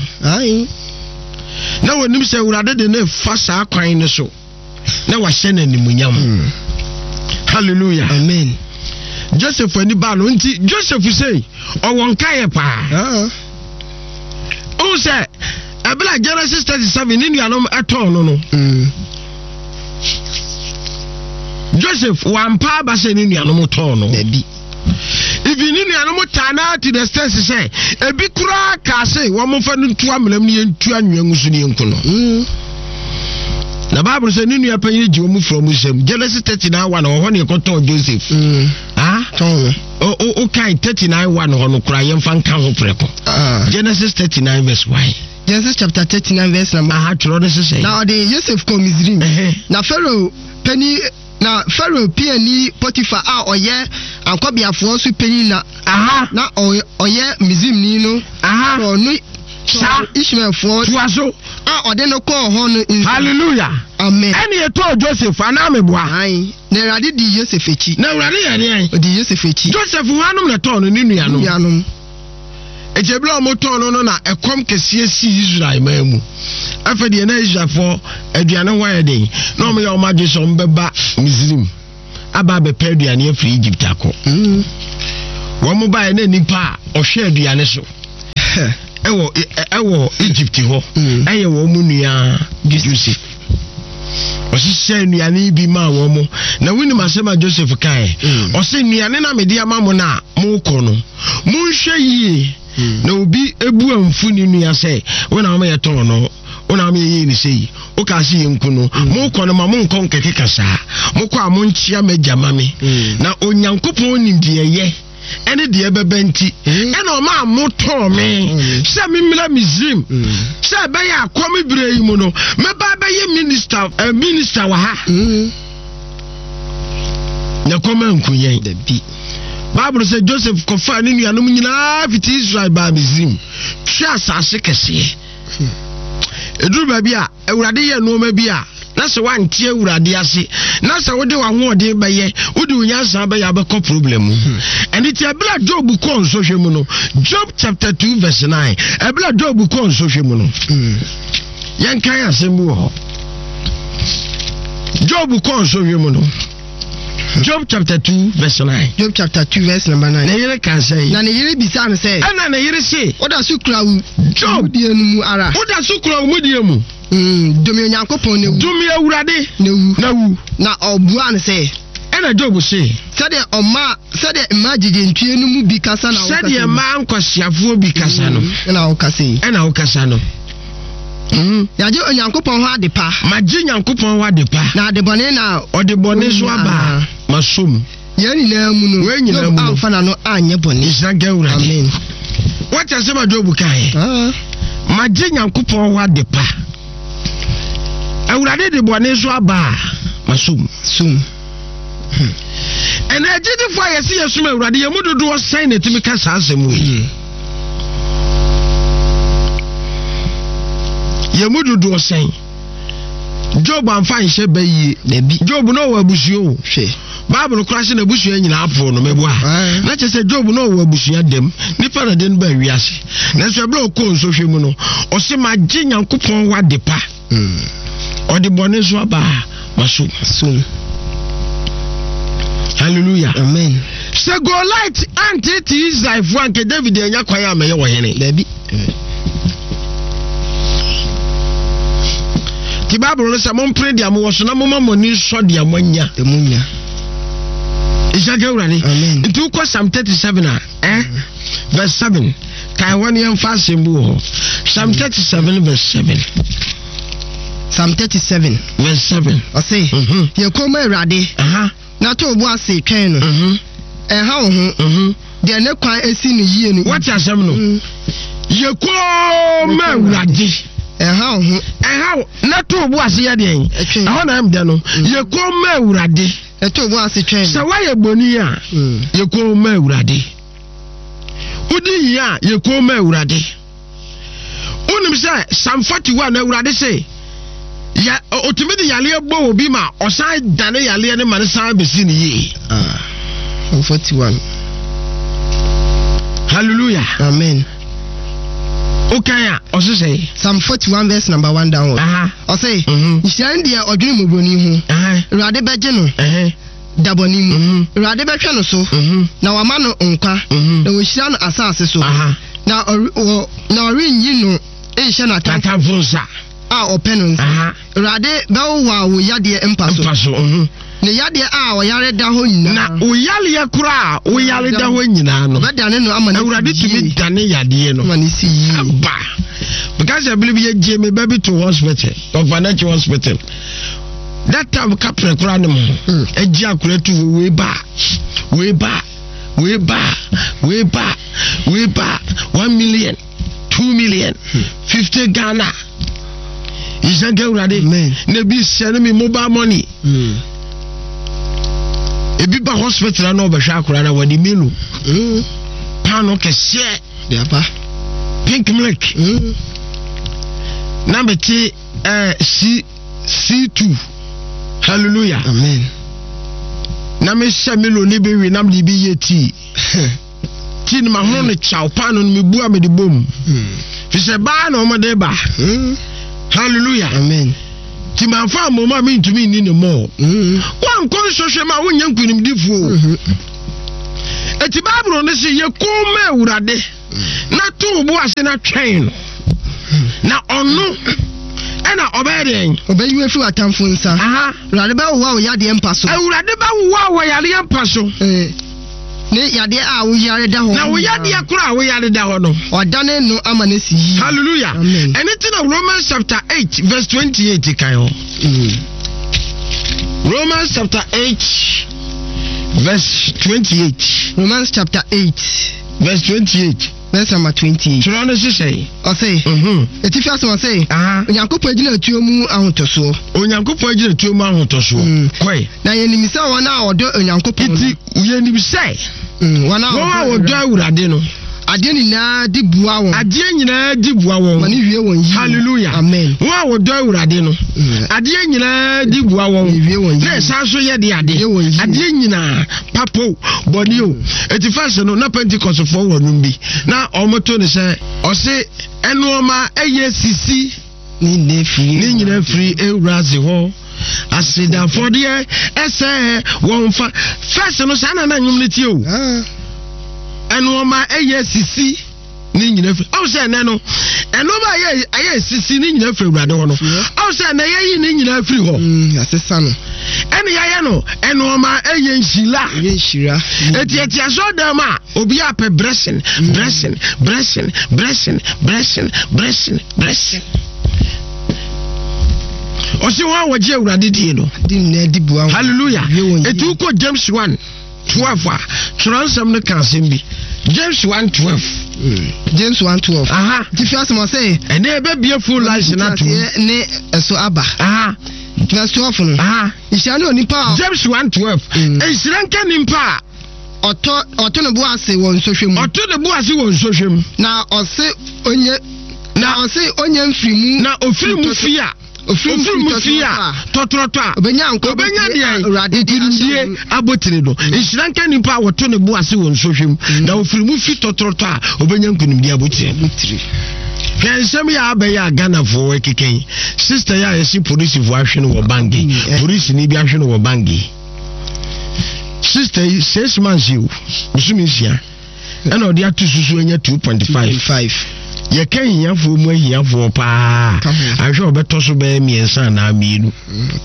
na wɔnim sɛ Awurade de ne fa saa kwan no so na wahyɛ no animuonyam hmm. Hallelujah. Amen. Joseph ani baa no nti Joseph sei ɔwɔ nkaeɛ paa ah. Wohu sɛ ɛberɛ a Genesis 37 ne nuanom ɛtɔn no no hmm. Joseph wampa aba sɛ ne nuanom tɔn no. Dabi. Even ne nuanom taa no to the extent sɛ ebi koraa kaa se wɔmfa no ntu amena mu ne yɛntu anwea ngu so ne yɛnku no. Mm. Na Bible sɛ ne nua panyin gye wɔn fura wɔn nsam. Genesis 39 1 wɔ hɔ ne yɛkɔtɔɔ Joseph. Mm. Ah? Tɔn. O kan 39 1 hɔ no koraa yɛmfa nka ho prɛko. Ah. Genesis 39 verse 1. Genesis chapter 39 verse number. Aha twerɛ no sesɛ. Na ɔde Yosef kɔɔ Misraim. Na Pharaoh panyin na Farao piani Potifar a ɔyɛ ankɔbeafoɔ so panyin na Aha. na ɔyɛ Misraimni no Aha. tɔɔ no Saa. tɔɔ Ismaelfoɔ Toa so. a ɔde no kɔɔ hɔ no nsam. Hallelujah. Amen. Ɛne yɛtɔɔ Joseph anaa meboa? Ae. Na Awurade dii Yosef akyi. Na Awurade yɛ deɛn? Ɔdii Yosef akyi. Joseph hwanom na ɛtɔɔ no? Ne nuanom. Ne nuanom. Enti ebere a wɔtɔn no no na ɛkɔm kɛseɛ sii Israel man mu. Afei deɛ na Israelfoɔ aduane ho ayɛ den na wɔyɛ wɔn adwene sɛ wɔbɛba Misrim aba abɛpɛ aduane afiri Egypt akɔ. Mm. Wɔn baeɛ na nipa a ɔhwɛ aduane so ɛwɔ ɛwɔ Egypt hɔ mm. ɛyɛ wɔn mu nua Joseph. Ɔhyehyɛ nnuane bi maa wɔn mo na wonim asɛm a Joseph kae. Mm. Ɔsɛ nnuane na mede ama mo no a mokɔ no monhwɛ yie mm. na obi ebu amfu ne nua sɛ wo na wɔn yɛ tɔn no wo na wɔn yɛ yie ne sɛ yi woka se yɛn nku no mm. mokɔ no ma monkɔ nkɛkeka saa mokɔ a monkyea m'agya ma me na Onyankopɔn nim deɛ ɛyɛ ɛne deɛ ɛbɛba nti mm. ɛna ɔma a motɔɔ me mm. sɛ memmra Misrim mm. sɛ ɛbɛyɛ akɔm berɛ yi mu no mɛba bɛyɛ minista eh, minista wɔ ha na kɔm anku yɛn. Bible sɛ Joseph kɔfaa ne nuanom nyinaa fiti Israel baa Misrim hwɛ asase kɛseɛ. Ɛduru baabi a Awurade yɛ nneɛma bi a na sɛ woante Awurade ase na sɛ wode w'ahoɔden bɛyɛ wode wo nyansa bɛyɛ abɛkɔ problem mu. Ɛne ti ɛberɛ a Job kɔɔ nsɔhwɛ mu no, Job chapter 2 verse 9, ɛberɛ a Job kɔɔ nsɔhwɛ mu no, yɛnkan asɛm bi wɔ hɔ. Job kɔɔ nsɔhwɛ mu no, Job chapter 2 verse 9. Job chapter 2 verse number 9. Ne yere ka sɛ. Na ne yere bisaa no sɛ. Ɛna ne yere se. Woda so kura wo. Job. Mudie no mu ara. Woda so kura wo mudie mu. Mm, dome Onyankopɔn na wu. Dome Awurade. Na wu. Na wu. Na ɔbuaa no sɛ. Ɛna Job se. Sɛdeɛ ɔmaa sɛdeɛ mmaa gyegyentwie no mu bi kasa na wokasa yi. Sɛdeɛ mmaa nkwasiafoɔ bi kasa no. Ɛna wokasa yi. Ɛna wokasa no. Mm. Yɛagye Onyankopɔn hɔ ade pa. Magye Nyankopɔn hɔ ade pa. Na ade bɔne na. Ɔde bɔne so aba a, maso mu. Yɛn nyinaa mu no. Wei nyinaa mu no. Amfa n'ano anyɛ bɔne. Nhyira nka Awurade. Amen. Wate asɛm a Job kaeɛ? Ah. Magye Nyankopɔn hɔ ade pa. Awurade de bɔne so aba a, maso mu. Sum. Hmm. Ɛnna agyidifo a yɛsi yɛsom Awurade yɛn mu dodoɔ sɛn na ɛtumi ka saa asɛm wei? Hmm. Yɛn mu dodoɔ sɛn? Job amfa nhyɛ bɛ yie. Dabi. Job na ɔwɔ abusua o. Hwɛ. Bible kora sɛ n'abusua nyinaa poo no mɛboa. Na kyerɛ sɛ Job na ɔwɔ abusua dɛm. Nipa na de no baa wiase. Nanso ɛberɛ a ɔkɔɔ nsɔhwɛ mu no, ɔse magye Nyankopɔn wɔ ade pa. Hmm. Ɔde bɔne so aba a maso. Sum. Hallelujah. Amen. Sɛ Goliath antete Israelfoɔ anka David anya kwan a mɛyɛ ɔhene. Dabi. Ti Bible no sɛ mompere deɛ mowɔ so na moma mo ani nsɔ deɛ moanya. Moanya. Nhyira nka Awurade. Amen. Nti wokɔ Psalm 37 a, eh? Verse 7. Kae hɔ ne yɛmfa asɛm bi wɔ hɔ. Psalm 37 verse 7. Psalm 37. Verse 7. Ɔse, Mhm. yɛ komm ma Awurade, Aha. na to wo bo ase twɛn no. Mhm. Ɛnha wo ho. Mhm. Deɛ ne kwan asi no yie no. Wate asɛm no? Mm. Yɛ komm ma Awurade. Ɛnha wo ho. Ɛnha wo. Na to wo bo ase yɛ deɛn? Ɛtwɛn. Ɛhɔ na ɛm dɛ no. Yɛ komm ma Awurade. Ɛto wo bo ase twɛn. Sɛ woayɛ bɔne a, Mm. yɛ komm ma Awurade. Wodi hia a, yɛ komm ma Awurade. Wonim sɛ Psalm 41 Awurade se yɛ otumi de yareɛ bɔ obi ma ɔsan dane yareɛ no ma no san bɛsi ne yie. Ah, Psalm 41. Hallelujah. Amen. Wokan a ɔse sɛ. Psalm 41 verse number 1 downward. Ɔse, Mhm. nhyira ne deɛ ɔdwene mmɔborɔni ho. Awurade bɛgye no da bɔne mu. Awurade bɛhwɛ no so, na wama no nkwa, na wɔahyira no asase so. Na ɔrenyi no nhyɛ n'atamfo nsa a ɔpɛ no nsa. Awurade bɛwowaw wo yadeɛ mpa so. Mpa so. Mhm. Ne yadeɛ a ɔyare da hɔ nyinaa. Na wo yareɛ koraa a woyare da hɔ nyinaa no. Ɔbɛdane no ama no Awurade tumi dane yadeɛ no. Ama no si yie. Aba. Because ɛbere bi yɛgye me ba bi to hospital, Ɔfanakyi hospital. That time kaprɛ koraa ne mo. Ɛgye hmm. akora tu hɔ wei ba, wei ba, wei ba, wei ba, wei ba, 1 million, 2 million, 50 Ghana. Nhyɛ Awurade. Na ebi send me mobile money. Hmm. Ebi ba hospital na ɔbɛhwɛ akora na wɔde milo. Paano kɛseɛ. Deapa. Pink milk. Na mete eh, C C2. Hallelujah. Amen. Na mehyɛ milo ne bi wi na mede bi yɛ tea. Tii no mahono no kyaw paano no mebu a mede bom. Fi sɛ baa na wɔde ba. Hallelujah. Amen. Ti manfa ammom a mentumi nni ne mɔɔ. Woankɔ nsɔhwɛ mu a wonyɛ nkonimdifoɔ. Eti Bible no se yɛ komm ma Awurade na to wo bo ase na twɛn no. Na ɔno ɛna ɔbɛyɛ deɛn? Ɔbɛyi wo afiri w'atamfo nsa. Awurade bɛwowa wo yadeɛ mpa so. Awurade bɛwowa wo yadeɛ mpa so. Eh, ne yadeɛ a woyare da hɔ. Na wo yadeɛ koro a woyare da hɔ no. Ɔdane no ama no si yie. Hallelujah. Amen. Ɛne ti na Romans chapter 8 verse 28 kan hɔ. Romans chapter 8 verse 28. Romans chapter 8. Verse 28. Verse number 28. Twerɛ no hyehyɛ. Ɔse. Etifi asɛm ɔse. Onyankopɔn agyina tuo mu ahotɔsoɔ. Onyankopɔn agyina tuo mu ahotɔsoɔ. Kɔe. Na yɛnim sɛ wɔn a wɔdɔ Onyankopɔn no. Nti yɛnim sɛ. Wɔn a wɔdɔ Awurade no. Adeɛ nyinaa di boa wɔn. Adeɛ nyinaa di boa wɔn. Ma ne wie wɔn yie. Hallelujah. Amen. Wɔn a wɔdɔ Awurade no. Adeɛ nyinaa di boa wɔn. Wie wɔn yie. Na ɛsan so yɛ de ade. Wie wɔn yie. Adeɛ nyinaa papo bɔne o. Eti fɛs no na Pentecostfoɔ wɔ nom bi na wɔn to ne sɛ ɔse ɛnoɔma ɛyɛ sisi. Ne nyinaa firi Ewuradze hɔ. Aseda afɔdeɛ ɛsɛ wɔn fa. Fɛs no saa na na nnwom no tie o. Ɛnoɔma ɛyɛ sisi ne nyinaa firi. Ɔn sɛ ɛnɛ no ɛnoɔma ɛyɛ ɛyɛ sisi ne nyinaa firi Ewurade hɔ no. Ɔn sɛ ɛnɛ yɛyi ne nyinaa firi hɔ. Yɛasesa no. Ɛne yɛayɛ no ɛnoɔma ɛyɛ nhyira. Ɛyɛ nhyira. Eti ɛte asɔrdan mu a obi apɛ blessing blessing blessing blessing blessing blessing. Blessing. Ɔsi wɔn a wɔgye Awurade die no. Hallelujah. Eti wokɔ James 1 12 a twerɛ nsɛm no ka asɛm bi. James 1 12. James 1 12. Aha. Ti fi asɛm ɔsɛ. Ɛnna ebebie full life na to. Ne ɛso aba. Aha. Verse 12 no. Aha. Nhyira ne onipa a. James 1 12. Nhyira nka nipa a. Ɔtɔ ɔto ne bo ase wɔ nsɔhwɛ mu. Ɔto ne bo ase wɔ nsɔhwɛ mu. Na ɔse onye na ɔse onye mfiri mu. Na ofiri mu fi a. Ofiri mu fi a tɔtrɔtɔ a. Obenya nkwa obenya deɛ nkunimdie abotire no. Nhyira nka nipa a wɔto ne bo ase wɔ nsɔhwɛ mu. Na ofiri mu fi tɔtrɔtɔ a obenya nkunimdie abotire no. Hwɛ nsɛm yɛ abɛyɛ a Ghanafoɔ ɛkeka yi. Sister yi a yɛsi polisifoɔ ahwe no wɔ bange. Polisini bi ahwe no wɔ bange. Sister yi six months yi o bosome nsia ɛna ɔde ato susu anya 2.5 yɛka ahiafoɔ mu ahiafoɔ paa ahwɛ ɔbɛtɔ so bɛyɛ mmiɛnsa anaa mmienu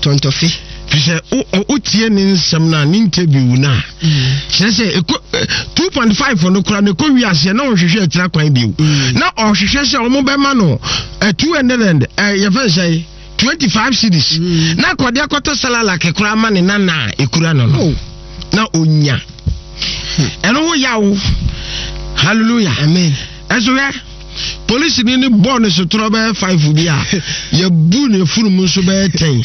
tɔntɔfe fi sɛ wotie ne nsɛm no a ne interview no a kyerɛ sɛ ɛkɔ 2.5 no kora no ɛkɔ wi aseɛ na ɔhwehwɛ akyira kwan bio na ɔhwehwɛ sɛ ɔmo bɛma no 200 and yɛfɛ sɛ 25 cedis mm. na akɔde akɔtɔ salalak koraa ma ne nana a ɛkura no no oh. na ɔnya hmm. ɛno ho yaw hallelujah amen ɛso hwɛ polisi ni ne bɔɔ ne sotorɔ bɛyɛ five bi a yɛbu ne funu mu nso bɛyɛ ten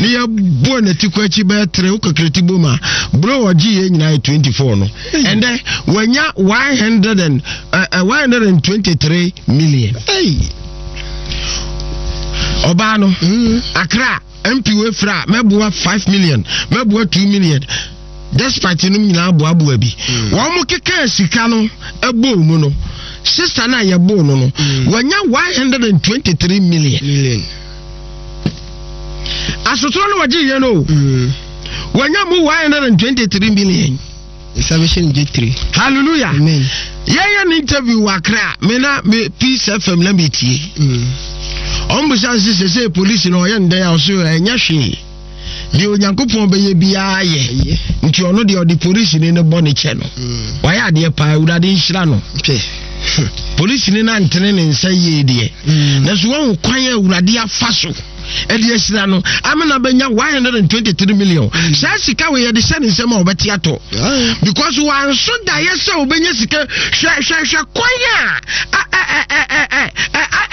ne yɛbɔ ne ti kɔ akyi bɛyɛ tere wo kakra ti bom a bro ɔgye yɛ nyinaa yɛ 24 no ɛndɛ wanya 100 and, uh, 123 million hey. Ɔbaa no mm. Accra MP wei fra mɛboa 5 million mɛboa 2 million despite nom nyinaa boaboa bi mm. wɔn mo keka sika no ɛbɔɔ mu no sista no a yɛbɔɔ no no mm. wɔnya 123 million million asotorɔ no wɔgye yɛ no wɔnya mu 123 million Nsa bɛhyɛ ne dwetire. Hallelujah. Amen. Yɛyɛ ne interview wɔ Accra. Me na me Peace FM na me tie. Ɔmo bisa nse sɛ sɛ polisi na ɔyɛ ndɛn a ɔso ɛnyɛ hwee. Deɛ Onyankopɔn bɛyɛ biara yɛ. Nti ɔno deɛ ɔde polisi ne ne bɔ ne kyɛ no. Wayɛ adeɛ paa Awurade nhyira no. Polisi ne nantene ne nsa yie deɛ. Nanso wɔn kwan a Awurade afa so. ɛde ahyira no amena bɛnya 123 million mm. saa sika wei yɛde hyɛ ne nsɛm a wɔbɛte atɔ because wanso daeɛ sɛ wɔbɛnya sika hwɛ hwɛ hwɛ kwan a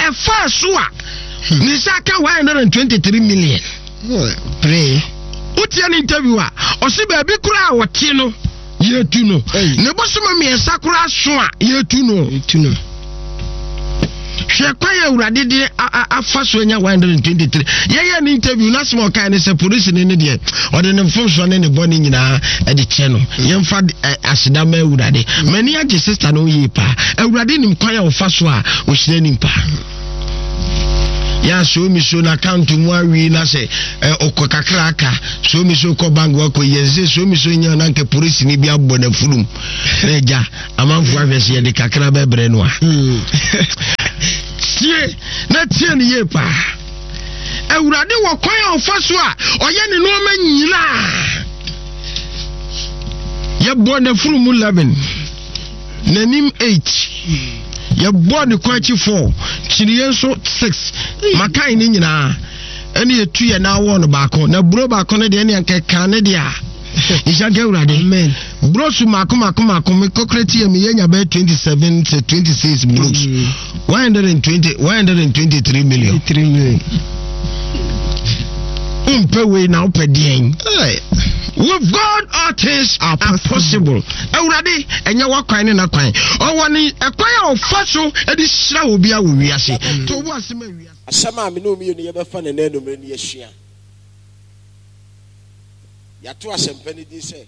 ɛfaa so a hmm. ne nsa aka 123 million wotia ne interview a ɔse baabi koraa a wɔte no yɛtu no ne bosoma mmiɛnsa koraa so a yɛtu no hwɛ. Hwɛ kwan a Awurade de afa so anya 123. Yɛyɛ ne interview na asɛm a ɔkae ne sɛ polisini no deɛ ɔde ne mfomsoɔ ne ne bɔne nyinaa de kyɛ no. Yɛmfa aseda ma Awurade. M'ani agye sista no yie paa. Awurade nim kwan a ɔfa so a ɔhyira nipa. Yɛ a so mi so na account mu awi na sɛ ɔkɔ kakra aka so mi so kɔ bank wakɔ yɛ sɛ so mi so nya na nka polisini bi abɔ n'afurum na agya amanfoɔ ahwɛ sɛ yɛde kakra bɛbrɛ no a hmm. tie na tie no yie paa awurade wɔ kwan a ɔfa so a ɔyɛ ne nneɛma nyinaa yɛbɔ n'afuru mu 11 n'anim 8 yɛbɔ ne kwan akyi 4 kyiniiɛ nso 6 makan ne nyinaa ɛne yɛtu yɛ na awɔ no baako na buro baako no deɛ ɛne anka ne deɛ a nhyira nka awurade brosu mako mako mako me kɔkɔrɛ ti yɛ me yɛ nya bɛyɛ 27 sɛ 26 bros 120 123 million 3 million wompɛ wei na wopɛ deɛn with God all things are possible awurade ɛnyɛ wakwan ne nakwan ɔwɔ ne ɛkwan a ɔfa so de hyira obi a wɔ wiase to wo asɛm awia Asɛm a me ne wo mmienu yɛbɛfa no nnɛ anwummere no yɛasua. Yɛato asɛmpa no din sɛ.